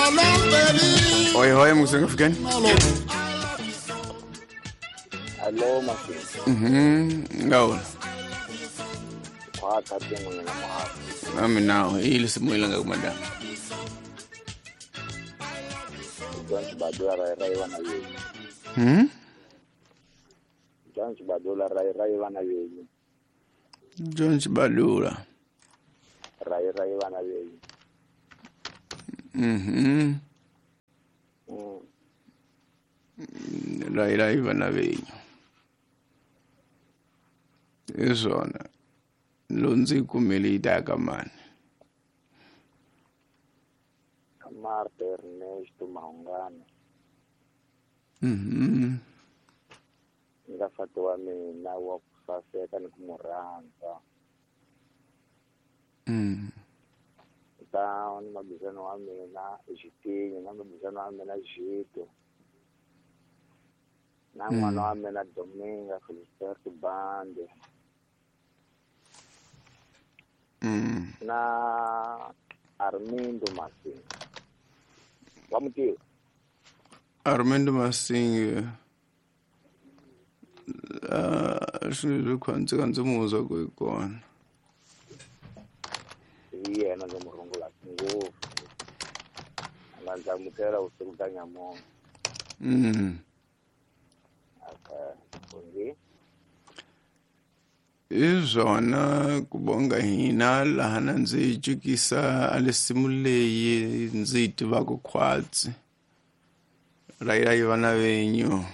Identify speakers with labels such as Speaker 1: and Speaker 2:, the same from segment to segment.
Speaker 1: Oi hoi musenga fikeni.
Speaker 2: Hello masi.
Speaker 1: Ngawo.
Speaker 2: Kwa tati mwenye na mahali.
Speaker 1: Ami nao ili simu ilanga kumada.
Speaker 2: John Chibadula rai rai wana yenyu. John Chibadula rai rai wana yenyu.
Speaker 1: John Chibadula
Speaker 2: rai rai wana yenyu.
Speaker 1: Rai rai wana yenyu. Izona lonzi kumele itaka mani.
Speaker 2: Marta Ernesto Maungano. Ngafatiwa mina wa kusaseka ni kumurhandza. Ta ni mabizano wa mina Xitinyi na mabizano wa mina Xito. Na n'wana wa mina Dominga Felisberto Bande. Na Armindo Masinga. Wa mutiva?
Speaker 1: Armindo Masinga. Swilo khwantsi ka ndzi muzwa ku hi kona.
Speaker 2: Hi yena ndzi mu rungulaka ngopfu. A nga ndzi amukela vusiku bya nyamuntlha. Okay.
Speaker 1: Izona kubonga hina laha na ndzi cukisa a lesimu leyi ndzi yi tivaka khwatsi. Rai rai vana venyu.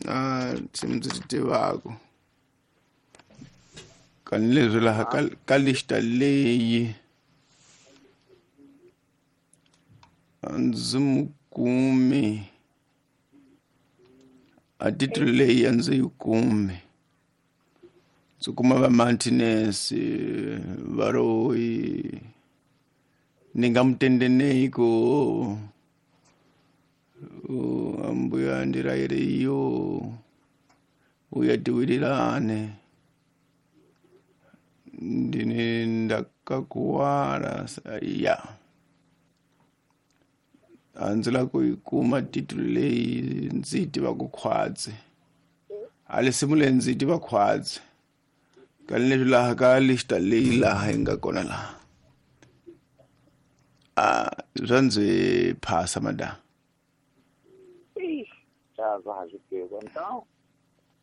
Speaker 1: A nsimu ndzi ti tivaka. Kani leswi laha ka lista leyi a ndzi mu kumi. A titulu leyi a ndzi yi kumi. Ndzi kuma va Martinez va Roy ni nga mutendenei ku ambuya ndiraire iyo uya tiwirirane ndine ndakakuwara ya a ndzi lava ku yi kuma titulu leyi ndzi yi tivaka khwatsi. A lesimu leyi ndzi yi tiva khwatsi. Kani leswi laha ka lista leyi laha yi nga kona laha. A swa ndzi phasa madam.
Speaker 2: Então,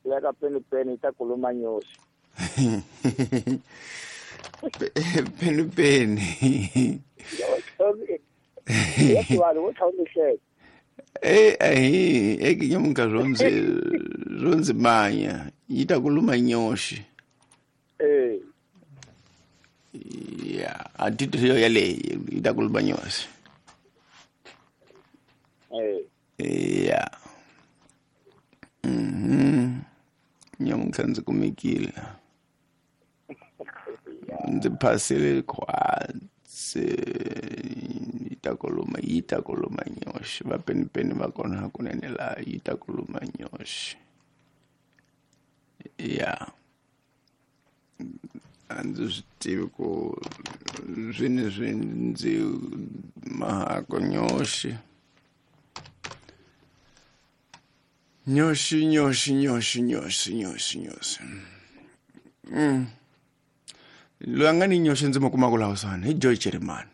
Speaker 2: leka peni peni ta kuluma nyosi.
Speaker 1: Peni peni. Eh nyamunka zonzi manya yi ta kuluma nyosi.
Speaker 2: Eh.
Speaker 1: Ya, a titulu yaleyi yi ta kuluma nyosi.
Speaker 2: Eh.
Speaker 1: Ya. Nyamunka ndzi kumekile. Ndzi phasile khwatsi yi ta kuluma nyoxi. Va peni peni va kona hakunene laha yi ta kuluma nyoxi. Ya. A ndzi swi tivi ku swini swi ndzi mahako nyoxi. Nyoxi nyoxi nyoxi nyoxi nyoxi nyoxi. Loyi a nga ni nyoxi ndzi mu kumaka laha kusuhani hi Joy Jeremani.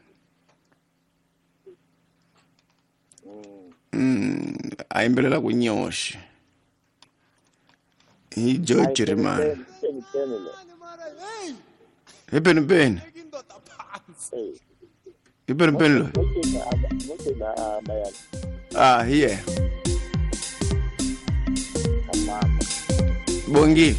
Speaker 1: A yimbelela ku nyoxi. Hi Joy Jeremani. Hi peni peni. Hi peni peni loyi. Ah, hi yena. Bongile.